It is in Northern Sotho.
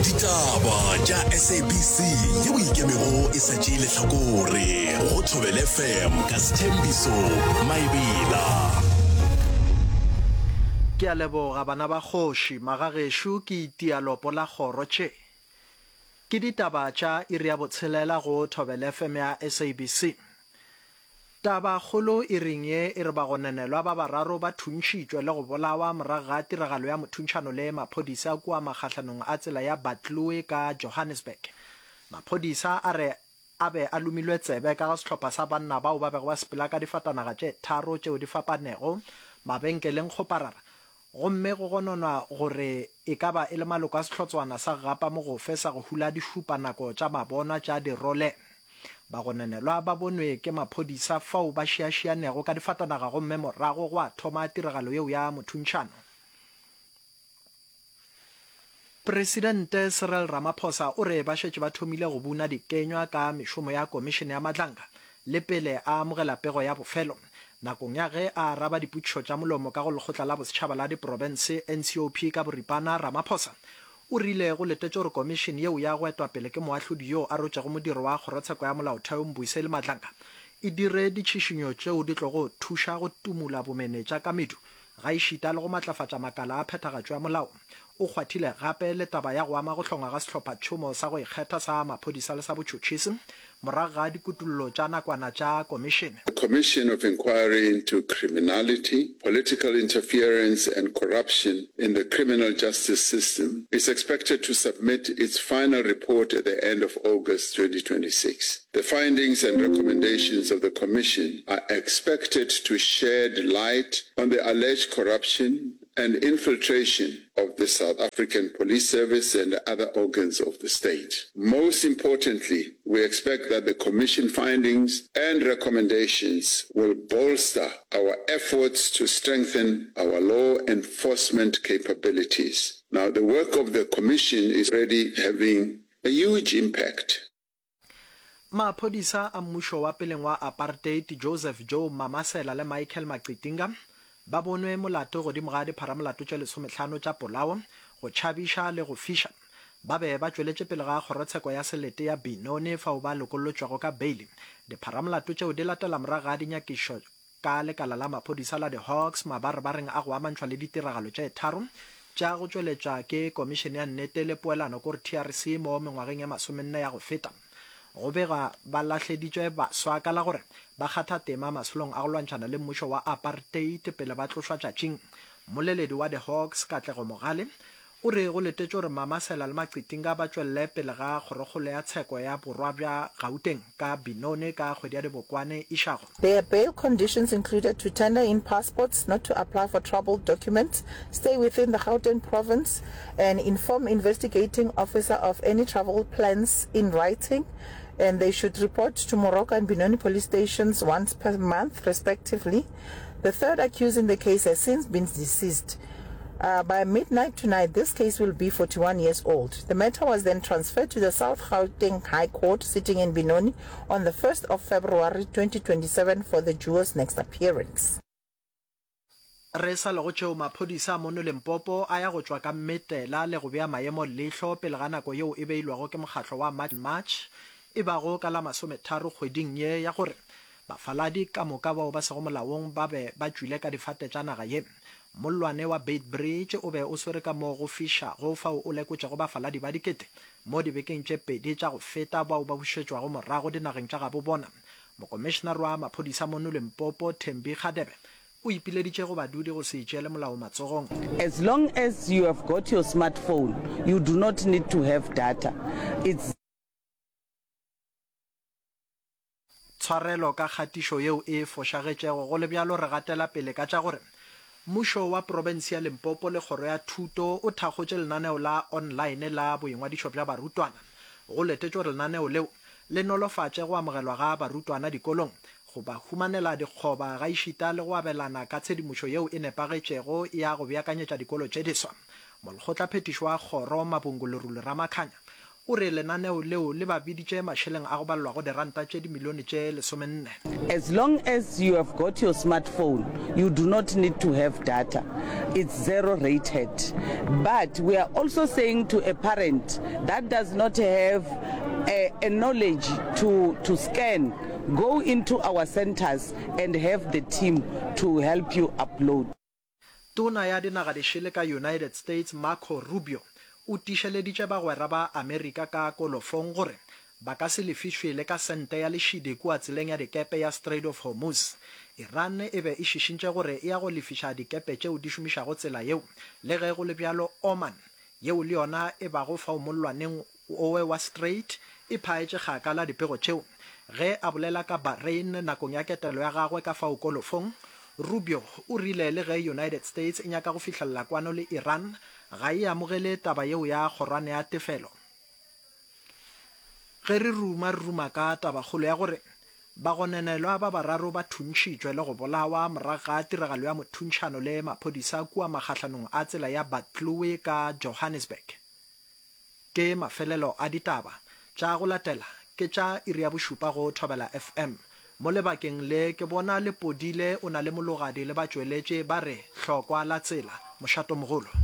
Ditaba tša SABC yeo e ikemego e sa tšee lehlakore go Thobela FM ka Sthembiso Maebela. Ke a leboga bana ba kgoši, magagešo ke itia lopo la kgoro tše. Ke ditaba tša iri ya botshelela go Thobela FM ya SABC. Tabakgolo iring ye e re bagononelwa ba bararo ba thuntšhitšwe le go bolawa morago ga tiragalo ya mothuntšhano le maphodisa kua magahlanong a tsela ya Buccleuch ka Johannesburg. Maphodisa a re a be a lomilwe tsebe ka ga sehlopha sa banna bao ba bego ba sepela ka difatanaga tše tharo tšeo di fapanego mabenkeleng kgoparara gomme go gononwa gore e ka ba e le maloko a sehlotswana sa gapa mogofe sa go hula dišupanako tša mabonwa tša dirole. Bagononelwa ba bonwe ke maphodisa fao ba šiašianego ka difatanaga gomme morago gwa thoma tiragalo yeo ya mothuntšhano. Presidente Cyril Ramaphosa o re ba šetše ba thomile go buna dikenywa ka mešomo ya Komišene ya Madlanga le pele a amogela pego ya bofelo. Nakong ya ge a araba dipotšišo tša molomo ka go Lekgotla la Bosetšhaba la Diprofense, NCOP, ka boripana, Ramaphosa o rile go letetše gore komišene yeo ya go etwa pele ke moahlodi yoo a rotšego modiro wa Kgorotsheko ya Molaotheo Mbuyiseli Madlanga e dire ditšhišinyo tšeo di tlogo thuša go tumula bomenetša ka medu gaešita le go matlafatša makala a phethagatšo ya molao. O kgwathile gape le taba ya go ama go hlongwa ga sehlophatšhomo sa go ikgetha sa maphodisa le sa botšhotšhisi morago ga dikutullo tša nakwana tša komišene. The Commission of Inquiry into Criminality, Political Interference and Corruption in the Criminal Justice System is expected to submit its final report at the end of August 2026. The findings and recommendations of the commission are expected to shed light on the alleged corruption and infiltration of the South African Police Service and other organs of the state. Most importantly, we expect that the commission findings and recommendations will bolster our efforts to strengthen our law enforcement capabilities. Now, the work of the commission is already having a huge impact. Maphodisa a mmušo wa peleng wa apartheid Joseph Joe Mamasela le Michael Macitinga ba bonwe molato godimo ga dipharamolato tše lesomehlano tša polao, go tšhabiša le go fiša. Ba be ba tšweletše pele ga kgorotsheko ya selete ya Benoni fao ba lokollotšwego ka beili. Dipharamolato tšeo di latela morago ga dinyakišo ka lekala la maphodisa la di-Hawks mabarebareng a go amantšhwa le ditiragalo tše tharo tša go tšweletšwa ke Komišene ya Nnete le Poelano kore TRC mo mengwageng ye masomenne ya go feta. Go begwa ba lahleditšwe baswa ka la gore ba kgatha tema masolong a go lwantšhana le mmušo wa apartheid pele ba tlošwa tšatšing. Mmoleledi wa di-Hawks Katlego Mogale O re go letetšwe gore Mamasela le Macitinga ba tšwelele pele ga Kgorokgolo ya Tsheko ya Borwa bja Gauteng ka Benoni ka kgwedi ya Dibokwane išago. Their bail conditions included to tender in passports, not to apply for troubled documents, stay within the Gauteng province and inform investigating officer of any travel plans in writing and they should report to Moroka and Benoni police stations once per month respectively. The third accused in the case has since been deceased. Uh, by midnight tonight, this case will be 41 years old. The matter was then transferred to the South Gauteng High Court sitting in Benoni on the 1st of February 2027 for the duo's next appearance. Re sa le go tšeo maphodisa a mono Limpopo a ya go tšwa ka mmetela le go bea maemo leihlo pele ga nako yeo e beilwego ke mokgatlo wa March and March e bago ka la masometharo kgweding ye ya gore bafaladi ka moka bao ba sego molaong ba be ba tšwile ka difate tša naga ye. Mollwane wa Beitbridge o be o swere ka mo go fišago fao o lekotšego bafaladi ba dikete mo dibekeng tše pedi tša go feta bao ba bušetšwago morago dinageng tša gabo bona. Mokomišenare wa maphodisa mono Limpopo, Thembi Kgadebe, o ipileditše go badudi go se itšeele molao matsogong. As long as you have got your smartphone, you do not need to have data. It's. Tshwarelo ka kgatišo yeo e fošagetšego. Go le bjalo, re gatela pele ka tša gore mmušo wa profense ya Limpopo le kgoro ya thuto o thakgotše lenaneo la online la boingwadišo bja barutwana. Go letetšwe gore lenaneo leo le nolofatše go amogelwa ga barutwana dikolong, go ba humanela dikgoba gaešita le go abelana ka tshedimošo yeo e nepagetšego ya go beakanyetša dikolo tše diswa. Molekgotlaphethiši wa kgoro, Mabungu Lerule Ramakhanya, O re lenaneo leo le ba biditše mašeleng a go balelwago diranta tše dimilione tše lesomenne. As long as you have got your smartphone, you do not need to have data. It's zero rated. But we are also saying to a parent that does not have a, a knowledge to, to scan, go into our centers and have the team to help you upload. Tona ya Dinagadišele ka United States Marco Rubio o tiišeleditše bagwera ba Amerika ka kolofong gore ba ka se lefišwe le ka sente ya lešidi kua tseleng ya dikepe ya Strait of Hormuz. Iran e be e šišintše gore e ya go lefiša dikepe tšeo di šomišago tsela yeo. Le ge go le bjalo, Oman, yeo le yona e bago fao mollwaneng owe wa Strait, e phaetše kgakala dipego tšeo. Ge a bolela ka Bahrain nakong ya ketelo ya gagwe ka fao kolofong, Rubio o rile le ge United States e nyaka go fihlelela kwano le Iran, ga e amogele taba yeo ya kgorwane ya tefelo. Ge re ruma re ruma ka tabakgolo ya gore bagononelwa ba bararo ba thuntšhitšwe le go bolawa morago ga tiragalo ya mothuntšhano le maphodisa kua magahlanong a tsela ya Buccleuch ka Johannesburg. Ke mafelelo a ditaba. Tša go latela ke tša iri ya bošupa go Thobela FM. Mo lebakeng le ke bona Lepodile o na le Mologadi le batšweletše ba re hlokwa la tsela. Mošatomogolo.